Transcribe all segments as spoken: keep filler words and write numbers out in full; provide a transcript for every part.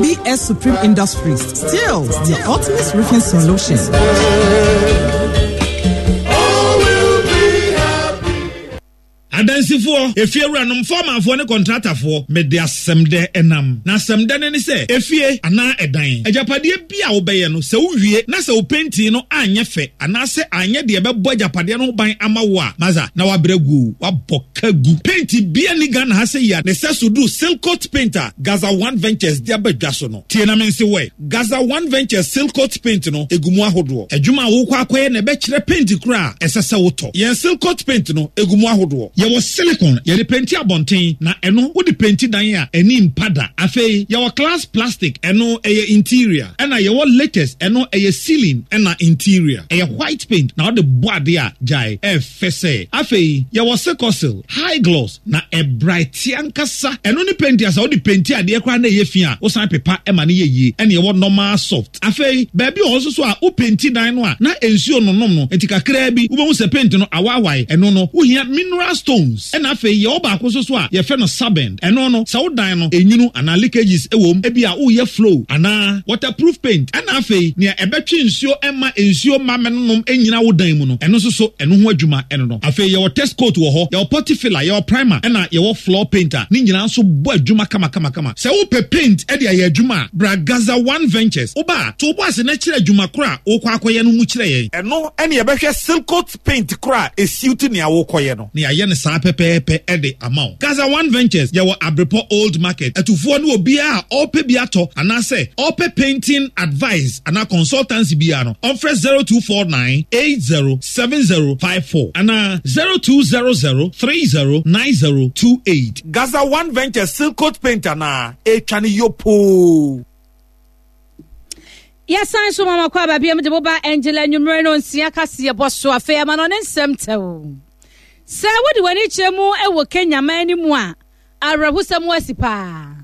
B S Supreme Industries, still the ultimate roofing solution. Adansifoɔ, efiewuranom, fɔɔmanfoɔ ne kɔntratafoɔ, mede asɛm dɛ ɛnam. Na asɛm dɛ no ne sɛ, efie anaa ɛdan, agyapadeɛ bi a wobɛyɛ no, sɛ wowie na sɛ wo painting no anyɛ fɛ anaasɛ anyɛ deɛ ɛbɛbɔ agyapadeɛ no ho ban ama wo a, masa na wabrɛ gu, wabɔ ka gu. Paint bia ni Ghana ha sɛ yi a ne sɛ so duru Silcoat paint a Gaza One Ventures de aba dwa so no. Tie na mense wɔ Gaza One Ventures Silcoat paint no egu mu ahodoɔ. Adwuma a wokɔ akɔyɛ na ɛbɛkyerɛ paint koro a ɛsɛ sɛ wotɔ. Yɛn Silcoat paint no egu mu ahodoɔ. Yɛwɔ silicon, yɛde penti abɔnten, na ɛno wode penti dan a ani mpa da. Afei yɛwɔ class plastic, ɛno ɛyɛ interior, ɛna yɛwɔ latest, ɛno ɛyɛ ceiling ɛna interior. Ɛyɛ white paint na wode bɔ adeɛ a gyae ɛfɛ sɛ. Afei yɛwɔ Sikosil high gloss na ɛbright ankasa. Ɛno ne paint a sɛ wode penti adeɛ koraa na ɛyɛ fi a, wosan pepa ɛma no yɛ yie. Ɛna yɛwɔ normal soft. Afei baabi wɔ hɔ nso so a wopenti dan no a na nsuo nonom no, nti kakraa bi wobɛhu sɛ paint no awaawae. Ɛno no wohia mineral stones. Ɛna afei yɛwɔ baako nso so a yɛfrɛ no sabend. Ɛno no sɛ wo dan no enwunu anaa leakages ɛwɔ mu, ebi a woyɛ flow anaa waterproof paint. Ɛna afei nea ɛbɛtwe nsuo ɛma nsuo ma mɛnonom ɛnyina wo dan mu no, ɛno nso so ɛno ho adwuma ɛno no. Afei yɛwɔ test coat wɔ hɔ, yɛwɔ putty filler, yɛwɔ primer, ɛna yɛwɔ floor paint a ne nyinaa nso bɔ adwuma kamakamakama. Sɛ wopɛ paint ɛde ayɛ adwuma a, bra Gaza One Ventures. Woba a, to wo bo ase na kyerɛ adwuma koro a wokɔ akɔyɛ no mu kyerɛ yɛn. Ɛno ɛne yɛbɛhwɛ Silcoat paint koro a esiw nea wokɔyɛ no. Na yɛayɛ no saa pɛpɛɛpɛ ɛde ama wo. Gaza One Ventures, yɛwɔ Abrepɔ Old Market. Atufoɔ ne obiara a ɔrepɛ bi atɔ anaasɛ ɔrepɛ painting advice anaa consultancy biara no, ɔmfrɛ zero two four nine eight zero seven zero five four anaa zero two zero zero three zero nine zero two eight. Gaza One Ventures Silcoat paint anaa etwa ne yopoo. Yɛsan so mama kɔ aba biam de moba Angela anwummerɛ no nsia kaseɛ bɔ so. Afei ama no ne nsɛm tɛw sɛ wode w'ani kyerɛ mu wɔ Kenya man no mu a, awerɛhosɛm asi paa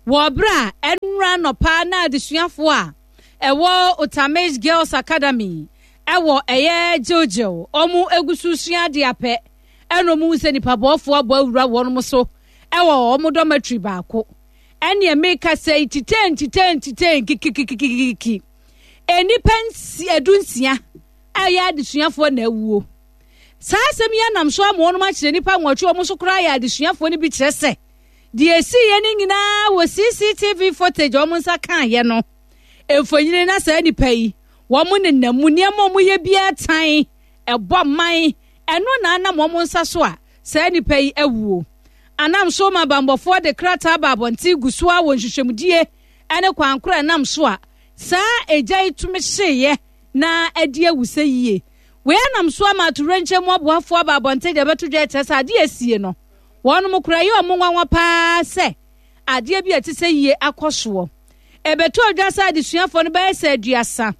wɔ berɛ a ɛnora nɔpa na adesuafoɔ a ɛwɔ Utamish Girls Academy ɛwɔ ɛyɛ Gilgil, ɔmo egu so sua adeɛ apɛ ɛna ɔmo hu sɛ nipa bɔɔfoɔ abɔ awura wɔn so ɛwɔ ɔmo dormitory baako. Ɛnneɛ meka sɛ titeen titeen titeen kikikikikiki, nnipa nsi edu nsia a ɛyɛ adesuafoɔ na awuo. Saa asɛm yi anam so ama wɔn akyerɛ nipa nwɔtwe, wɔn nso koraa yɛ adesuafoɔ no bi. Kyerɛ sɛ deɛ esi yɛ no nyinaa wɔ C C T V footage a wɔn nsa kaayɛ no mfonyini, na saa nipa yi wɔn nenam mu, nneɛma a wɔyɛ biara tan ɛbɔ man. Ɛno na anam wɔn nsa so a saa nipa yi awuo. Anam so ma bambɔfoɔ de krataa ba abɔnten gu so a wɔ nhwehwɛmudie ne kwan koro a ɛnam so a saa egya yi tumi hyeeɛ na adi awu sɛ yie. Wei anam so ama atowerɛnkyɛm mu aboafoɔ aba abɔnten deɛ ɛbɛto dwa kyerɛ sɛ adeɛ asie no, wɔn kora yɛ ɔmo nwanwa paa sɛ adeɛ bi a ɛte sɛ yie akɔ soɔ. Ɛbɛto odwa sɛ adesuafoɔ no bɛyɛ sɛ aduasa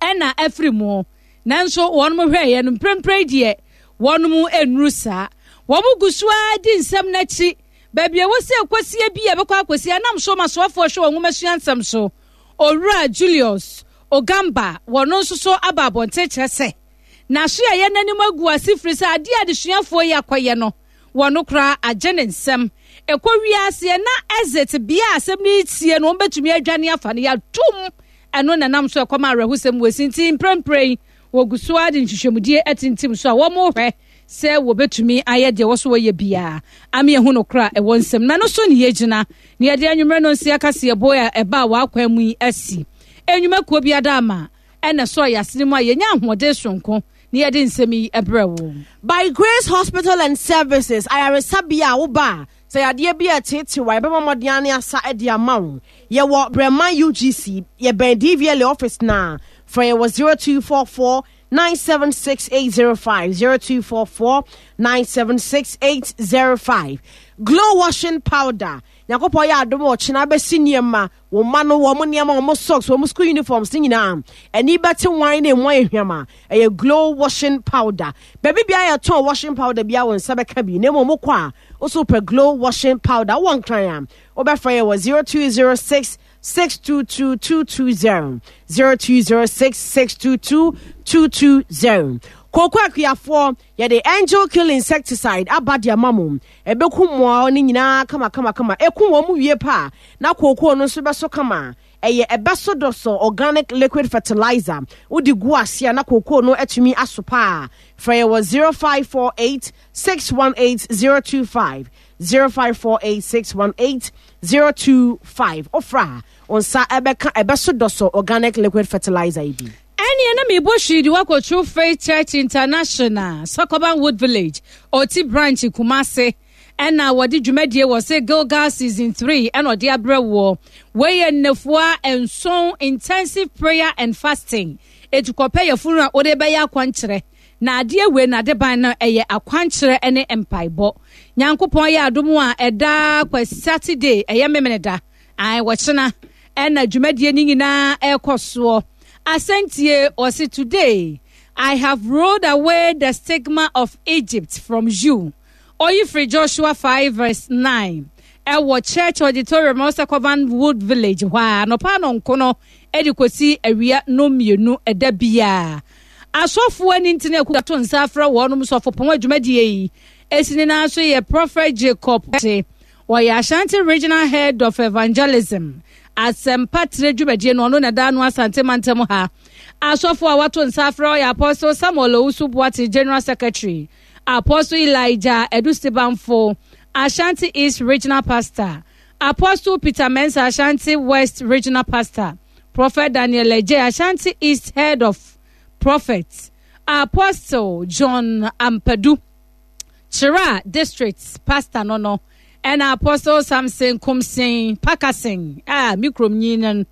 ɛna afiri mu, nanso wɔn hwɛeɛ no mprempren deɛ wɔn nnuru saa. Wɔn gu so ara di nsɛm n'akyi baabi a wɔsi akɔsie bi a ɛbɛkɔ akɔsie. Anam so ma soafoɔ hwɛ wɔn nwoma sua nsɛm so, Owura Julius Ogamba, wɔn nso so aba abɔnten kyerɛ sɛ n'aso a yɛ n'anim agu ase firi sɛ adeɛ a adesuafoɔ yi akɔyɛ no, wɔn koraa agye ne nsɛm. Ɛkɔ wiaseɛ na exit bea a asɛm no tie no, wɔn bɛtumi adwane afa no yɛatum. Ɛno na nam so ɛkɔm awerɛhosɛm wɔ esi nti mprempren yi wɔgu so ara de nhwehwɛmudie atintim so a wɔn hwɛ sɛ wɔbɛtumi ayɛ deɛ wɔ so wɔyɛ biara ame ehu no kora ɛwɔ nsɛm na no so ne yɛgyina na yɛde anwummerɛ no nsia kaseɛbɔ a ɛba a wɔakwan mu yi asi enwumakuo bi ada ama ɛna sɔ yɛasene mu a yɛnya ahoɔden sonko na yɛde nsɛm yi ɛbrɛ wo. By Grace Hospital and Services, ayaresabea a woba a sɛ yadeɛ bi a ɛteetew a, yɛbɛma mmɔden ane asa de ama wo. Yɛwɔ Brɛman U G C, yɛbɛn D V L A office na frɛ yɛ wɔ zero two four four nine seven six eight zero five, zero two four four nine seven six eight zero five. Glow washing powder, Nyankopɔn yɛ adom a ɔkyena bɛsi nneɛma wɔn mma no, wɔn nneɛma, wɔn socks, wɔn school uniforms ne nyinaa ani bɛte wan na emu ayɛ hwam a, ɛyɛ Glow washing powder. Baabi biara yɛtɔn washing powder biara, wɔn nsa bɛka bi, na emu wɔn kɔ a woso pɛ Glow washing powder. Wɔ Nkran a, wobɛfrɛ yɛ wɔ zero two zero six six two two two two zero, zero two zero six six two two two two zero. Kooko akuafoɔ, yɛde Angel Kill insecticide aba de ama mo. Ɛbɛku mmoa no nyinaa kama kama kama. Ɛku wɔn mu wie pa na kooko no nso bɛso kama. Ɛyɛ ɛbɛso dɔsɔ organic liquid fertilizer. Wode gu ase a na kooko no atumi aso paa. Frɛ yɛ wɔ zero five four eight six one eight zero two five, zero five four eight six one eight zero two five. Ofra onsa ɛbɛka ɛbɛso dɔsɔ organic liquid fertilizer yi bi. Ɛneɛ na mebɔ hwii de wakɔ True Faith Church International, Sokoban Wood Village, Oti Branch, Kumase. Ɛna wɔde dwumadie wɔ se Gilgal Season three ɛna ɔde abrɛ woɔ. Wei yɛ nnafua nson intensive prayer and fasting. Etukɔpɛ yɛ funu a wode bɛyɛ akwankyerɛ. Na adeɛ wei na adeban no ɛyɛ akwankyerɛ ne mpaebɔ. Nyankopɔn yɛ adom a ɛda kwa Saturday ɛyɛ Memeneda. Ae wɔkyena ɛna dwumadie no nyinaa ɛrekɔ soɔ. Asɛntie ɔse today I have rolled away the stigma of Egypt from you. Oyi firi Joshua five verse nine. Ɛwɔ Church Auditorium Ɔsɛkɔban Wood Village hɔ a anɔpa anɔnko no ɛde kɔsi awia no mmienu ɛda biara. Asɔfoɔ ani ntena aku ato nsa afrɛ wɔnom sɔfopɔn adwumadie yi. Esi ne nan so yɛ Prophet Jacob Te. Wɔyɛ Ashanti Regional Head of Evangelism. Asɛmpa tire dwumadie no ɔno na da ano Asante mantam ha. Asɔfoɔ a wato nsa afrɛ ɔyɛ Apostle Samuel Owusu Boate General Secretary, Apostle Elijah Edusibanfo, Ashanti East Regional Pastor, Apostle Peter Mensah, Ashanti West Regional Pastor, Prophet Daniel Eje, Ashanti East Head of Prophets, Apostle John Ampadu, Chira District Pastor no no, and Apostle Samson Kumsin Pakasin, ah, Mikrom Nyinan,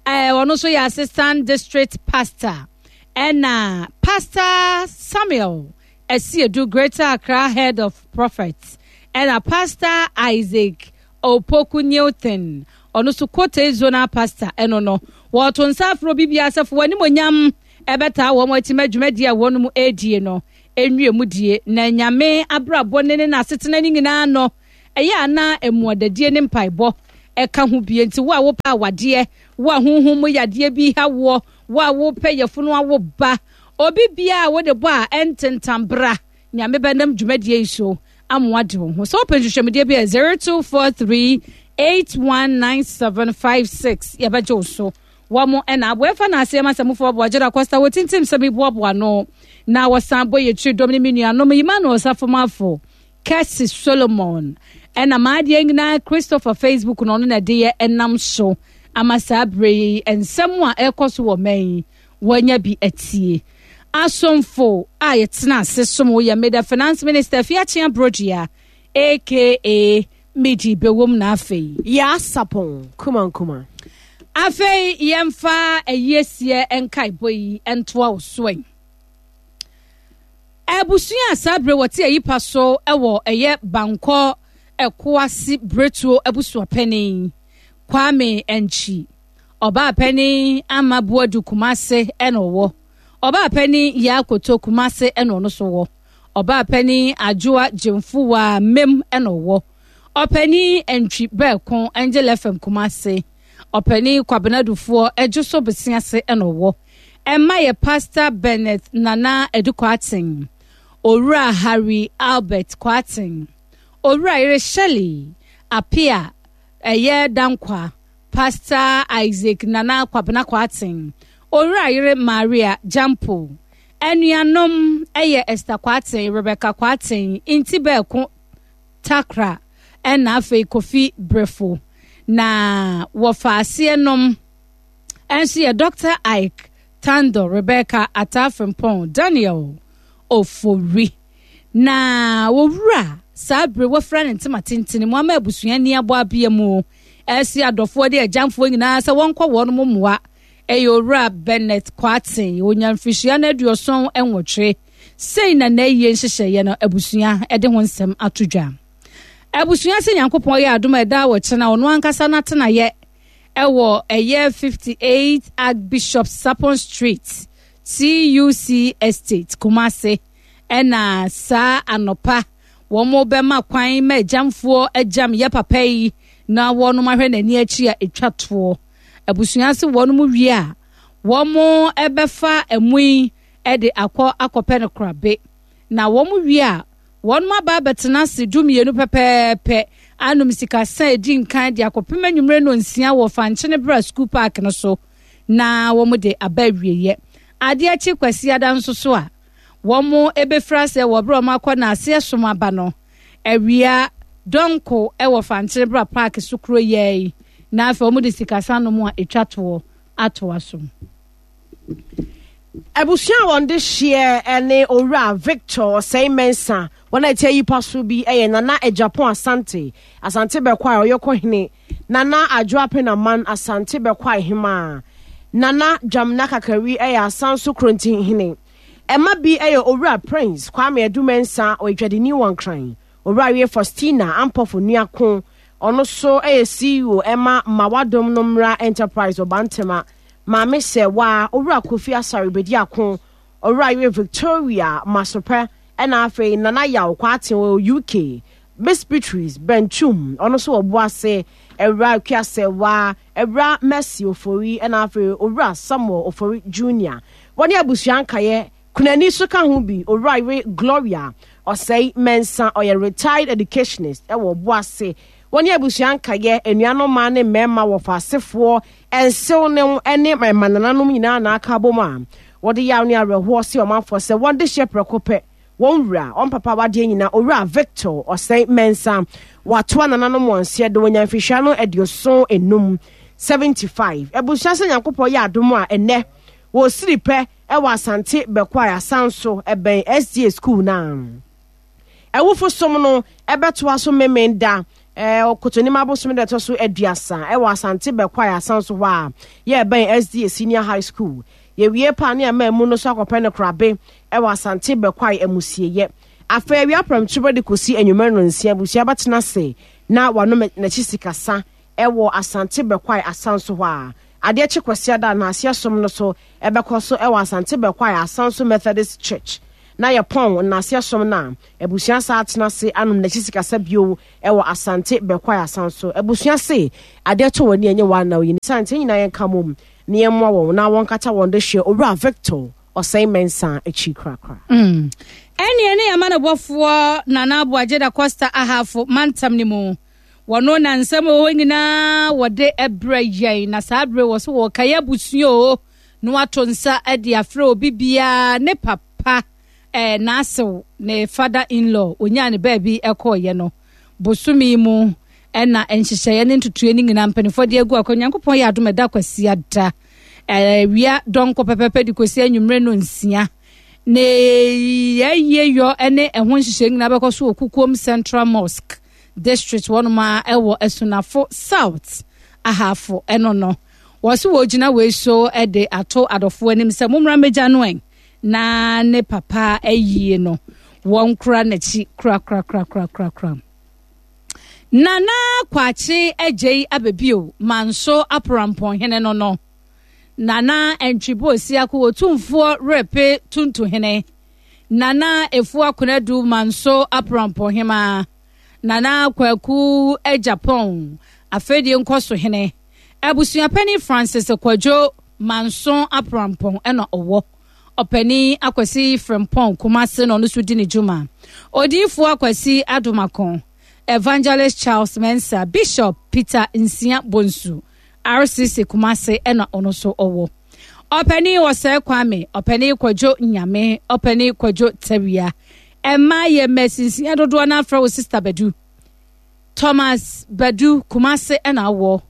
eh, ɔno nso yɛ Assistant District Pastor, ɛna Pastor Samuel Esiedu, Greater Accra Head of Prophets, ɛna Pastor Isaac Opoku Newton, ɔno nso Kote Zonal Pastor, ɛno no, wɔto nsa afro bibia asafo wɔn animonyam ɛbɛtaa wɔn akyi ma dwumadie a wɔn mu ɛredie no enwie mu die na nyame abrabɔ ne ne n'asetena ne nyinaa no ɛyɛ ana emuadadie ne mpaebɔ ɛka ho bie. Nti wo a wopɛ awadeɛ, wo a honhom mu yadeɛ bi ha woɔ, wo a wopɛ yɛfunu awo ba, obi bia a wode bɔ a ɛntentam bra nyame bɛnam dwumadie yi so amoa de wo ho. Sɛ wopɛ nhwehwɛmudeɛ bi a zero two four three eight one nine seven five six yɛbɛgye wo so. Wɔn ɛna aboa ɛfa na aseɛ ma sɛ mofoɔ boa Gyeda Costa wɔ tintim sɛ meboaboa no na wɔsan bɔ yɛ tiri dɔm ne me nuanom Emmanuel Safomafo, Kɛse Solomon, ɛna maadeɛ nyinaa Christopher Facebook na ɔno na ɛde yɛ ɛnam so ama saa berɛ yi nsɛm a ɛrekɔ so wɔ man yi wɔanya bi atie. Asomfo a yɛtena ase som yɛ meda Finance Minister Fiakyea Brodua aka Midi Bewom na afei Yɛ Asapɔn kuma nkuma. Afei yɛmfa ayiesie nkaebɔ yi ntoa wo so yi. Abusua a saa bere wɔte ayipa so wɔ ɛyɛ Bankɔ Ɛkoase Bretuo abusuapanin Kwame Nkyi. Ɔbaa panin Ama Buadu Kumase ɛna ɔwɔ. Ɔbaa panin Yakoto Kumase ɛna ɔno so wɔ. Ɔbaa panin Adwoa Gyemfuwa Mem ɛna ɔwɔ. Ɔpanin Ntwi Bɛɛko Angel F M Kumase. Ɔpanin Kwabena Dufoɔ Ɛdwo so Besiase ɛna ɔwɔ. Ɛma yɛ Pastor Bennett Nana Edu Kwaten. Owura Harry Albert Kwaten. Owura Yere Shelley Apia ɛyɛ Dankwa. Pastor Isaac Nana Kwabena Kwaten. Owura Yere Maria Jampo. Anuanom ɛyɛ Esther Kwaten, Rebecca Kwaten, Nti Bɛɛko Takra ɛna afei Kofi Brefo. Na wɔfa aseɛ nom ɛnso yɛ Doctor Ike Tando, Rebecca Atafrimpong, Daniel Ofori. Na wɔwura saa bere wɔfra ne ntoma tentene mu ama abusua ni abɔ abea mu ɛsi adɔfoɔ de agyamfoɔ nyinaa sɛ wɔnkɔ wɔn mo mmoa. Ɛyɛ owura Bennett Kwaten, onya mfirihyia no aduɔson nwɔtwe. Sei na n'ayie nhyehyɛeɛ no abusua ɛde ho nsɛm ato dwa. Abusua sɛ Nyankopɔn yɛ adom a ɛda wɔ kyena ɔno ankasa n'atenayɛ ɛwɔ ɛyɛ fifty-eight Archbishop Sapon Street, T U C Estate, Kumasi. Ɛna saa anɔpa wɔn bɛma kwan ma agyamfoɔ agyam yɛ papa yi na wɔn ahwɛ n'ani akyi a etwa toɔ. Abusua se wɔn mu wie a wɔn ɛbɛfa ɛmu yi De akɔ akɔpɛ no korabe. Na wɔn wie a, wɔn aba abɛtena ase du mmienu pɛpɛɛpɛ anom sikasa edi nkan de akɔpem anwummerɛ no nsia wɔ Fankyene Bra School Park no so na wɔn de aba awieeɛ. Adeɛ akyi Kwasiada nso so a, wɔn ebɛfiri ase wɔ berɛ a wɔn akɔ n'aseɛ som aba no awia dɔnko wɔ Fankyene Bra Park so kuro yɛ yi, na afei wɔn de sikasa nom a etwa toɔ atoa so. Abusua a wɔn de hyeɛ ne Owura Victor Osei Mensah. Wɔn a ɛte ayipa so bi yɛ Nana Agyapong Asante, Asante Bɛkwae Ɔyɔkɔhene, Nana Adwo Apenaman, Asante Bɛkwae Hemaa, Nana Dwamena Kakari yɛ Asanso Krontinhene. Ɛma bi yɛ Owura Prince Kwame Adu Mensah, ɔyɛ dwadini wɔ Nkran, Owura Awie Faustina Ampɔfo Nuako, ɔno so yɛ C E O ɛma Mawadom no Mmra Enterprise wɔ Bantama, Maame Sɛwa, Owura Kofi Asare Bediako, Owura Yere Victoria Masopɛ, ɛna afei Nana Yaw Kwate wɔ U K, Miss Beatrice Benchum, ɔno nso wɔ Boase, Ewura Kuasɛwa, Ewura Mercy Ofori, ɛna afei Owura Samuel Ofori Junior. Wɔne abusua nkaeɛ kunani so ka ho bi, Owura Yere Gloria Ɔsɛe Mensah, ɔyɛ retired educationist ɛwɔ Boase. Wɔne abusua nkaeɛ anuanom mmaa ne mmarima wɔ faasefoɔ nsew ne ne mmanananom nyinaa na aka abom a wɔde yaw ne awerɛhoɔ se ɔmanfoɔ sɛ wɔn de hyɛ prɛko pɛ wɔn wura, wɔn papa wadeɛ nyinaa, Owura Victor Ɔsɛe Mensah, watoa nananom wɔn nseɛ de wɔnya mfihwia no aduoson enum, seventy-five. Abusua sɛ Nyankopɔn yɛ adom a, ɛnɛ wɔsiri pɛ ɛwɔ Asante Bɛkwae Asanso ɛbɛn S D A school naa. Ɛwofo som no ɛbɛtoa so memen da ɛɛ Kotonim abosom da ɛtɔ so aduasa ɛwɔ Asante Bɛkwae Asanso hɔ a yɛ ɛbɛn S D A Senior High School. Yɛwie paa ne ama mu no so akɔpɛ no korabe ɛwɔ Asante Bɛkwae amusieyɛ. Afei awia prɛmtoberɛ de kɔsi anwummerɛ no nsia, abusua bɛtena ase na wanom n'akyi sikasa ɛwɔ Asante Bɛkwae Asanso hɔ a adeɛ kye Kwasiada na aseɛ som no so ɛbɛkɔ so ɛwɔ Asante Bɛkwae Asanso Methodist Church, na yɛpɔn nnaseɛ som no a, abusua saa atena ase anom n'akyi sikasa bio ɛwɔ Asante Bɛkwae Asanso. Abusua se adeɛ to wɔ ani ɛnyɛ wɔn anaw yi ne sante nyinaa yɛnka mom ne yɛmmoa wɔn na wɔnkata wɔn de hwɛ Owura Victor Ɔsɛe Mensah akyi korakora. Mm. ɛneɛ ne yɛma no bɔfoɔ Nana Aboagye da Costa Ahafo mantam no mu wɔno na nsɛm wɔ hɔ nyinaa wɔde ɛbrɛ yɛn, na saa berɛ wɔ so wɔkaeɛ abusua o na wato nsa de afrɛ obi biara ne papa eh, n'asew ne father in law onyaa ne baabi ɛkɔɔyɛ no bosome mu, ɛna nhyehyɛeɛ ne ntotoeɛ no nyinaa mpanimfoɔ de agu akɔ. Nyankopɔn yɛ adom, ɛda Kwasiada awia dɔnkɔ pɛpɛpɛ de kɔsi anwummerɛ no nsia na yɛyie yɔ ne ɛho nhyehyɛeɛ nyinaa bɛkɔ so wɔ Kukuom Central Mosque District wɔnom a ɛwɔ Asunafo South Ahafo. Ɛno no wɔsi wɔgyina wei so de ato adɔfoɔ anim sɛ mommra mmɛgya no ɛn na ne papa ayie no wɔn kura n'akyi korakorakorakorakora. Nana Kwakye Agyei Abɛbio Manso Aporampɔnhene no no Nana Ntwibo Osiako Otumfoɔ Repe Tuntuhene, Nana Efua Konadu Manso Aporampɔnhema, Nana Kwaku Agyapɔn Afɛdie Nkɔsohene, abusuapɛni Francis Kwadwo Manso Aporampɔn, ɛna ɔwɔ ɔpanin Akwasi Frempɔn Kumase na ɔno nso di ne dwuma, Odiyifoɔ Akwasi Adomako, Evangelist Charles Mensah, Bishop Peter Nsia Bonsu, R C C Kumase, ɛna ɔno nso ɔwɔ ɔpanin Ɔsɛe Kwame, ɔpanin Kwadwo Nyame, ɔpanin Kwadwo Tawia. Ɛmmaa yɛ mmasinsia dodoɔ no afrɛ wo Sister Badu Thomas Badu Kumase, ɛna awɔ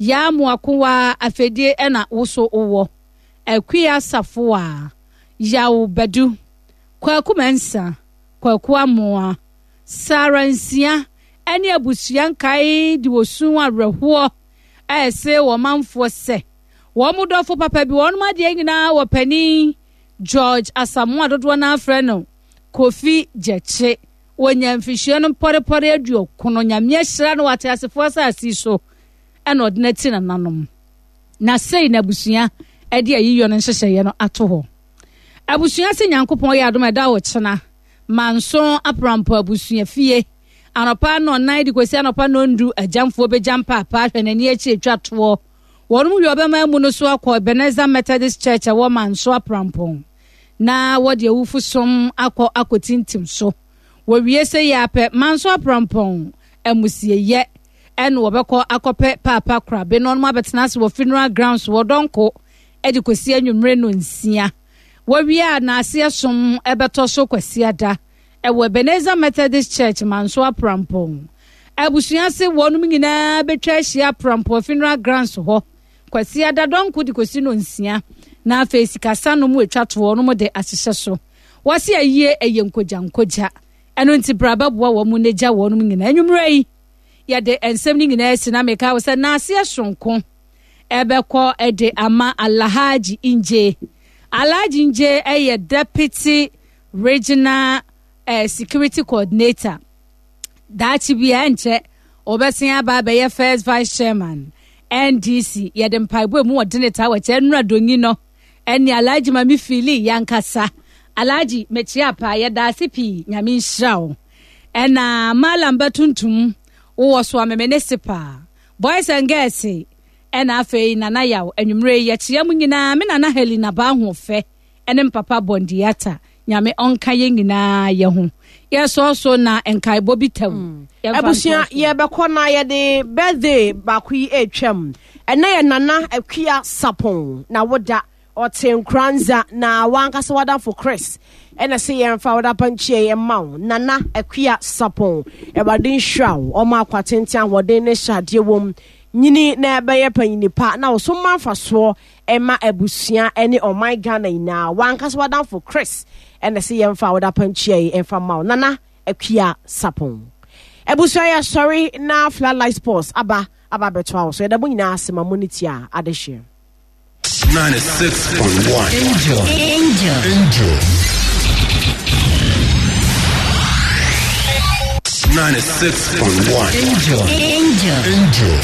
Yaa Mmoakowa Afɛdie, ɛna woso wowɔ Akua Safoa Yaw Badu, Kwaku Mɛnsa, Kwaku Amoa, Sara Nsia, ɛne abusua nkae de wɔsu awerɛhoɔ ɛsɛ wɔn manfoɔ sɛ wɔn mo dɔfo papa bi wɔn adeɛ nyinaa wɔ panin George Asamoah, dodoɔ no afrɛ no Kofi Gyekye, wɔnya mfihyia no mpɔrepɔre aduɔkono. Nyame ahyira no wɔ ateasefoɔ asase so ɛna ɔde n'ati nananom na sei na abusua ɛde ayiyɔ no nhyehyɛeɛ no ato hɔ. Abusua sɛ Nyankopɔn yɛ adom, ɛda wɔ kyena Manso Aporampɔ abusua fie anɔpa nɔnan de kɔsi anɔpa nɔndu. Agyamfoɔ bɛgya mpaapaa hwɛ n'ani akyi atwa toɔ. Wɔn mu wie ɔbɛma mu no so akɔ Ebenezer Methodist Church ɛwɔ Manso Aprampɔn Na wɔde awufo som akɔ akɔtintim so. Wɔwie sɛ yɛ apɛ Manso Aprampɔn amusieyɛ ɛna wɔbɛkɔ akɔpɛ Paapa Korabe na ɔnom abɛtena ase wɔ funeral grounds wɔ Dɔnko ɛde kɔsi anwummere no nsia. Wɔwie a n'aseɛ som ɛbɛtɔ so Kwasiada ɛwɔ Ebenezer Methodist Church, Manso Aprampɔn. Abusua se wɔnom nyinaa bɛtwa ahyia Aprampɔn funeral grounds hɔ Kwasiada dɔnko de kɔsi no nsia, na afei sikasa no mu atwa toɔ no mu de ahyehyɛ so. Wɔse ayie ɛyɛ nkogya nkogya, ɛno nti bra bɛboa wɔn mu n'agya wɔnom nyinaa. Anwummerɛ yi yɛde nsɛm no nyinaa asi na meka wo sɛ n'aseɛ sonko ɛbɛkɔ ɛde ama Alhaji Ngye. Alhaji Ngye ɛyɛ Deputy Regional eh, Security Coordinator. Daakye bia nkyɛ ɔbɛsen aba abɛyɛ First Vice Chairman N D C. Yɛde mpaebɔ mu wɔde ne taa wɔkyɛ nnura donyi no ɛne Alhaji Mami Fili yankasa. Alhaji, mekyia paa, yɛda ase pii, Nyame nhyira wo. Ɛna Malam Bɛtuntum wowɔ so ameme ne se paa, boys and girls, ɛna afei Nana Yaw, anwummerɛ yi yɛkyia mu nyinaa. Me nana Helena Baahoɔfɛ ɛne mpapa Bɔndiata, Nyame ɔnka yɛn nyinaa yɛ ho. Yɛsɔɔ so na nkaebɔ bi tam. Abusua, yɛbɛkɔ na yɛde birthday baako yi atwam. Ɛnɛ yɛ Nana Akua Sapon na woda ɔte Nkranza na wankasa wadamfo Chris ɛna sɛ yɛmfa woda pankyia yɛ ma wo. Nana Akua Sapon, Awurade nhyira wo, ɔma akwa tenten, ahoɔden ne hyɛ adeɛ wɔ nyini na ɛbɛyɛ panyini pa na wɔso ma mfasoɔ ɛma abusua ne ɔman Ghana nyinaa. Wankasa wadamfo Chris ɛna sɛ yɛmfa woda pankyia yi ɛmfa ma wo, Nana Akua Sapon. Abusua, yɛ sɔre na Floodlight Sports aba aba abɛtoa wo so. Yɛda mo nyinaa ase ma mo ne tia adehyeɛ. ninety-six point one. Angel. Angel. Angel. ninety-six point one. Angel. Angel. Angel.